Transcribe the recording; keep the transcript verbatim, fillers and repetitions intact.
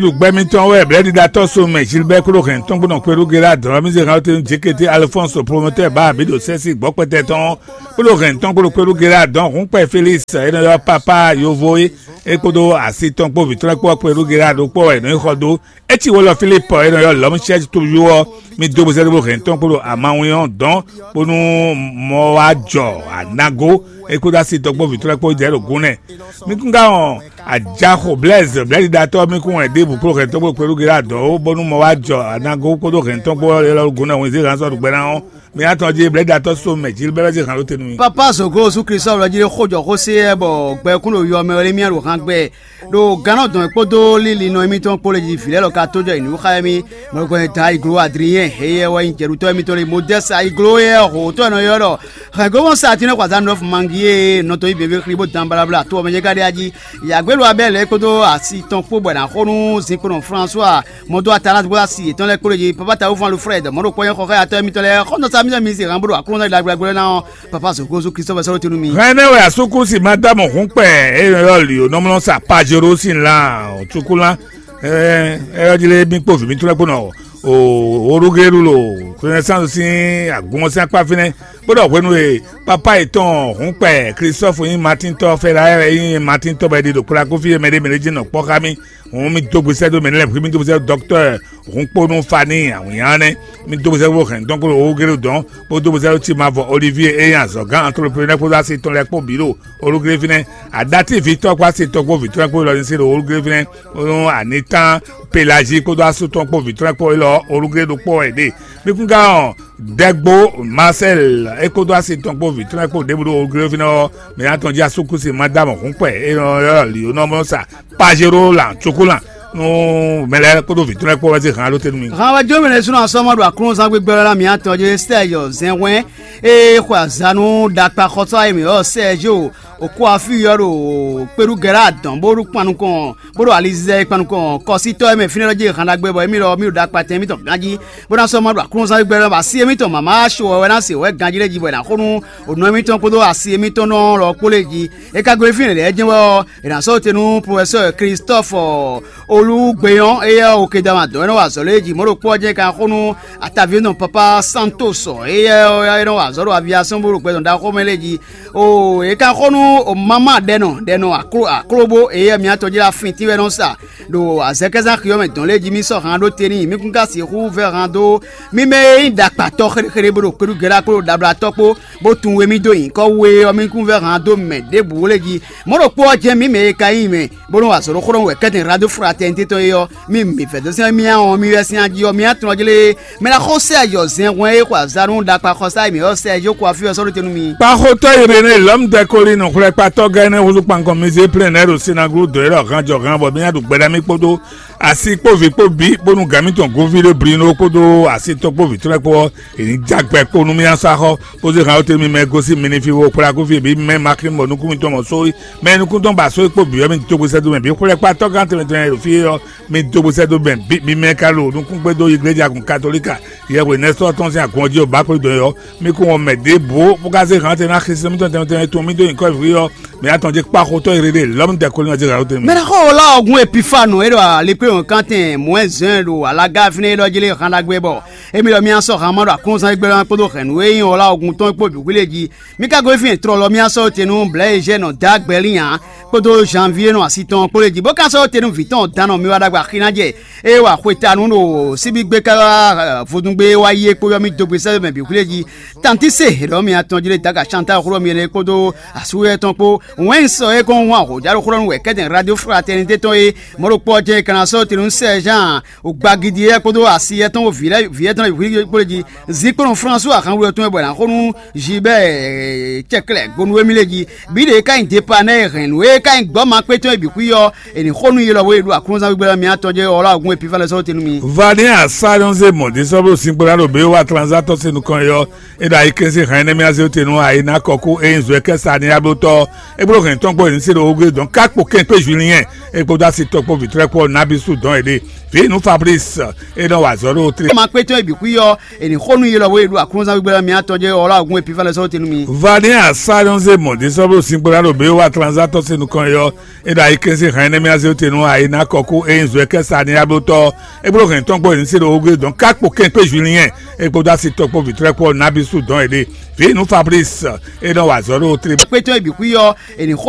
Ɖu gbɛ mitɔn wɛ blɛ́ɖiɖatɔ́ so mɛ Gilbert kpódó hɛn tɔn kpódó kpéɖu Gérard dɔn mi zé hàn tɛn J K T Alphonse promoteur bá abǐ ɖo sɛ́sí gbɔ́kpɛtɛ tɔn kpódó hɛn tɔn kpódó kpéɖu Gérard dɔn hǔnkpɛ Félix é nɔ ylɔ́ papa yovo é é kpódó asi tɔn kpó vǐ tɔn lɛ́ɛ kpó ɔ́ kpéɖu Gérard ɖokpó wɛ è nɔ nyí xɔ dó. É cí wǒ lɔ Filipu é nɔ ylɔ́ lɔ̌músɛ́ tóyú ɔ́, mi dó buzɛ́ ɖó hɛn tɔn kpódó amawin ɔ́ dɔn bónú mɔ wá jɔ anago é kpódó asi tɔn kpó vǐ tɔn lɛ́ɛ kpó jɛ ɖo gún nɛ. Mi kún ká wɔn Ajaxo Blaise blɛ́ɖiɖatɔ́ mi kún wɛn ɖěbǔ kpló hɛn tɔn kpó kpéɖu Gérard dɔn ó bónú mɔ wá jɔ anago kpódó hɛn tɔn kpó élɔ́ gún nɛ hwenzí hɛn sɔ́ ɖu gbɛ ná ɔ́, mi ná tɔn jí blɛ́ɖiɖatɔ́ so mɛ Jilbɛ́ wɛ zé hǎn ɖó te nú mi. Papa Zogo Jesu Kristo wɛ jí xó jɔ xó sé yɛ bɔ gbɛkún ɖo yɔ mɛ wɛ lé mía ɖo han gbɛ ɖo gannɔ dɔn kpódó lílinɔ émítɔn kpó lé jí vǐ lɛ́ɛ lɔ ka tó jɔ yi nǔ xá émí. Mɔgbɛn da iglo Adrien heyɛ wɛ nyí jɛɖutɔ́ émítɔn lé Modɛ́si iglo yɛ hǒtɔ́ e nɔ ylɔ́ ɖɔ hɛ̌nglómɔ sa tínɛ́ xwaza nɔ mangi e nɔ dɔn yí běbé xlí bó dan balabla to ɔmɛ jɛ ka ɖe ají. Yǎgbélu Abɛ́li é kpódó asi tɔn kpó bɔ è nǎ xo nú zinkpɔ́nɔ François mɔdó Atalás kpódó asi yětɔn lɛ́ɛ kpódó jí papa ta wúfɔ́n Alfred mɔ̌ ɖo kpɔ́nyɛ́ xɔxɔ́ atɔ́ émítɔn lɛ́ɛ xɔ́ntɔn sa mímí zǐ hán bó ɖo aklúnɔ ɖagblɛ́gbɛ́ ná ɔ́ papa Zogo Jesu Kristo vɛ́ sɔ́ ɖó te nú mi. Hɛn énɛ́ wɛ asúkúsi ma dó amɔ hǔn kpɛ e nɔ ylɔ́ lǐ ó nɔ mlɔ́ sa Pajero sín lan Cukulán. Ɛ́ ɔ́ jlé mì kpó vǐ mǐtɔn lɛ́ɛ kpó nɔ Orugelu ɖo Renaissance sín agun ɔ́ sín akpá fínɛ́, bó ɖɔ hwenu e pápá yětɔn hǔnkpɛ Klistɔ́fu nyí Matíntɔ́, Fɛ́láyɛ wɛ nyí Matíntɔ́ bɔ è ɖi ɖo kplakúfí e mɛɖé mɛ ɖé jí nɔ kpɔ́ xá mì. Hǔn mì dó gbesɛ dó mɛ lɛ́ɛ, mì dó gbesɛ dó dɔktɔ́ Hǔnkpónú Faníi awǐnnya ɔ́ nɛ́. Mì dó gbesɛ dó hɛ̌nnu tɔn kpó ɖo Orugelu dɔn, bó dó gbesɛ dó Timavɔ Olivie e nyí azɔ̌gán antloprenɛ́ kpódó asi tɔn lɛ́ɛ kpó bǐ ɖo Orugelu fínɛ́. Aɖatívi tɔn kpó asi tɔn kpó vǐ tɔn lɛ́ɛ kpó lɔ ní se ɖo Orugelu fínɛ́. Nú anitán Pelazi kpódó asú tɔn kpó vǐ tɔn lɛ́ɛ kpó élɔ́ Olugelu ɖokpó wɛ ɖe. Mi kún ká wɔn Dɛgbo Marcel é kpódó asi tɔn kpó vǐ tɔn lɛ́ɛ kpó ɖěbǔ ɖo Olugelu fínɛ́ ɔ́, mǐ ná tɔn jí asúkúsi Madame Hǔnkpɛ e nɔ ylɔ́ Lǐonɔ́ mɔ sa Pajero lan Cukulán nú mɛ lɛ́ɛ kpódó vǐ tɔn lɛ́ɛ kpó wɛ zé han ɖó te nú mi. Han wɛ jó mɛ lɛ́ɛ súnɔ asɔ́mɔ ɖo aklúnɔzán gbígbɛ́ ɔ́ ná mǐ atɔn jí Sɛ́ɛjɔ Zɛnhwɛ́n e xwe azǎn nú ɖakpa xɔsá e mǐ ylɔ́ Sɛ́ɛjɔ Okwafí ɔ́ ɖo kpeɖúgɛ́ ɖo adɔ̌n bó ɖo kpan nukɔn bó ɖo alizizɛ e kpan nukɔn kɔsítɔ́ e mɛ fínɛ́ lɔ jí han ɖagbe bɔ émí lɔ mì ɖo ɖakpa tɛn émítɔn ganjí bó ná sɔ́ ma ɖo aklúnɔzán gbígbɛ́ ɔ́ bɔ así émítɔn mǎmá so wɛ wɛ ná se wɛ̌ ganjí lɛ́ɛ jí bɔ è nǎ xo nú ònɔ émítɔn kpódó asi émítɔn nɔ lɔ kpó lɛ́ɛ jí. É ka gosín fínɛ́ lɛ́ɛ jɛ́n wɛ ɔ́, è nǎ sɔ́ te nú profɛsɛ́ Christɔ́fɔ Olúgbeyɔ́n, éyɛ́ ɔ́, Okedama dɔ̌n é nɔ wa azɔ̌ lɛ́ɛ jí. Mɔ̌ ɖokpó ɔ́ jɛ́n é ka xo nú ataví énɔ́ Papa Santos, éyɛ́ ɔ́ é nɔ wa azɔ̌ ɖo aviasɔ́n bó ɖo gbɛ tɔn ɖaxó mɛ lɛ́ɛ jí. Oo, é ka xo nú o mama ɖɛnɔ ɖɛnɔ aklóbó, éyɛ́ mǐtɔn jí ɖo afin tínwɛ́nɔ sa ɖo azɛkɛ́zán xi ɔ́ mɛ dɔn lɛ́ɛ jí mì sɔ́ han ɖó te n'i, mì kún ka sixú vɛ́ han dó mì mɛ e nyí ɖakpatɔ́ xéɖéxéɖé bó ɖo kpeɖúgɛ́ɖá kpó ɖo ɖablátɔ́ kpó bó tunwun we mì dó nyǐkɔ we ɔ́, mì kún vɛ́ han dó mɛ ɖěbǔ lé jí. Mɔ̌ ɖokpó ɔ́ jɛ́n mǐ mɛ e ka nyí mɛ bó nɔ́ wa azɔ̌ ɖó xó ɖɔhun wɛ kɛ́tɛn Rado Fraternité tɔn é ɔ́, mì mǐ vɛ̌ dó sɛ́n mì ɔ́ mì wɛ sín ají ɔ́ mì atɔn jí lé. Mɛ ná xó sɛ yɔ zɛn hwɛn e xɔ azǎn nú ɖakpa xɔsá e mǐ ɔ́ sɛ jó kó afí ɔ́ sɔ́ ɖó te nú mi. Kpaxotɔ́ Irené lɔ̌mdɛkoli nɔ xwlɛ́kpatɔ́ gɛ́ énɛ́ húzú kpankɔn mi zé plɛ́n nɛ́ ɖo sinaglódó é ɖɔ ganjɔ gan bɔ mì ná ɖu gbɛɖá mì kpódó asi kpó vǐ kpó bǐ bónú gǎn mǐtɔn Govíɖé Blino kpódó asi tɔn kpó vǐ tɔn lɛ́ɛ kpó ɔ́, è nǐ ja gbɛ kpo nú mì ná sɔ́ axɔ́, bó zé han ɔ́ te mì mɛ gosín mi ní fí wó kplá kú fí bǐ mɛ Maxime bɔ nukún mitɔn mɔ sóyi, mɛ nukún tɔn ba sóyi kpó bǐ ɔ́, mi dó gbe sɛ́ dó mɛ bǐ xwlɛ́kpatɔ́ gán tɛnmɛ tɛnmɛ ɖo fí ɔ́, mi dó gbe sɛ́ dó mɛ bǐ mi mɛ ka ɖo nukún gbé dó igleja kun katolíka yɛhwe nɛ́sɔ́ tɔn sín agun ɔ́ jí ɔ́ bá kplé dɔn ɔ́, mi kún wɔn mɛ ɖěbǔ bó ka zé han tɛn ná xisi mitɔn tɛnmɛ tɛnmɛ tun mi dó nyǐkɔ vǐ ɔ́, mɛ atɔn jí kpa xotɔ́ e ɖe lɔ́mú dɛkoli ná zé han tɛnmɛ. Mɛ ná xɔ wɔ lá ɔgun epifanu e ɖo alekpé wɔn kántɛn mɔ̌ ɛ zɛn ɖo alága fínɛ́ é ɖɔ jí lé han ɖagbe bɔ émí ɖɔ mì sɔ́ han ma ɖo aklúnɔzán gbɛ́ kpódó hɛ̌nnu e nyí wɔ lá ɔgun tɔn kpó bǐ hwilé jí. Mì ka gosín trɔ lɔ mì sɔ́ te nú Blɛ̌ Eugène Dǎgbɛ́lin ǎ kpódó Janvier nɔ asi tɔn kpó lé jí bó ka sɔ́ te nú vǐ tɔn dan nɔ mi wá ɖagbe axi ná jɛ ée wa xwetanu ɖo síbígbé ká vodúngbé wá yi é kpó yɔ mì dó gbe sɛ́ mɛ bǐ xwlé jí. Tantí se hěɖɔ mi atɔn jí lé daga Chantal xlɔ́ mi énɛ́ kpódó asúyɛ tɔn kpó wɛn sɔ é kɔn wán hǒjá ɖo xlɔ́ nú wɛ kɛ́tɛn Radio Fraternité tɔn é mɔ̌ ɖokpó ɔ́ jɛ́n é ka ná sɔ́ te nú Sɛ́ɛzán Ogbagidi é kpódó asi yɛtɔn vǐ lɛ́ɛ vǐ yɛtɔn e hwǐ kpó lé jí. Zinkplɔ́n Flánsu ahanwlú tɔn e bɔ è nǎ xo nú Zibɛ́ɛ cɛklɛ́ gonu émí lé jí. Bǐ ɖě ka nyí Depanɛ́ e hɛn nǔ e ka nyí gbɔ́ makpétɔn e bǐ xwí ɔ́, è nǐ xo nú yi lɔ bó yi ɖo aklúnɔzán gbígbɛ́ ɔ́ mì atɔn jɛ ɔlá ògún e pífá lɛ́ɛ sɔ́ te nú mi. Vani asá nyɔ́ zé mɔ̌ ɖé sɔ́ ɖo zinkpo ɖá ɖo bě wa tranzátɔ́ se nukɔn é ɔ́, é ɖo ayikɛ́n sín hɛn énɛ́ mì azé te nú ayi ná kɔ kú é nyí zɔ̌ kɛ́ sa ní ablótɔ́. É bló hɛn tɔn kpó è nǐ se ɖo ogbé dɔn ká kpo kɛn kpé Julien é kpódó asi tɔn kpó vǐtrɛ́ kpó ɔ́ nabí sú dɔn è ɖe. Vǐ nú Fabrice, é nɔ wa azɔ̌ ɖo tlé. Ma kpétɔ́ e bǐ xwí ɔ́, è nǐ xo nú yi lɔ bó e ɖo aklúnɔzán gbígbé lɔ mǐ atɔn jɛ ɔlá ògún e pífá lɛ́ sɔ́ te nú mi. Vani Asánɔzé mɔ ɖésɔ́bló sínkplá ɖo bě wa tranzátɔ́ se nukɔn e ɔ́, é ɖo ayikɛ́n sín hɛn énɛ́ mì azé te nú ayi ná kɔkú e nyí zwɛkɛ́ sa ní ablótɔ́. É bló hɛn tɔn kpó e ní se ɖo ogé dɔn ká kpo kɛn kpé Julien, é kpódó asi tɔn kpó vǐtrɛ́kpɔ́ Nabisu dɔn è ɖe. Vǐ nú Fabrice, é nɔ wa azɔ̌ ɖo tlé. Kpétɔ́ e bǐ xwí ɔ́, è nǐ xo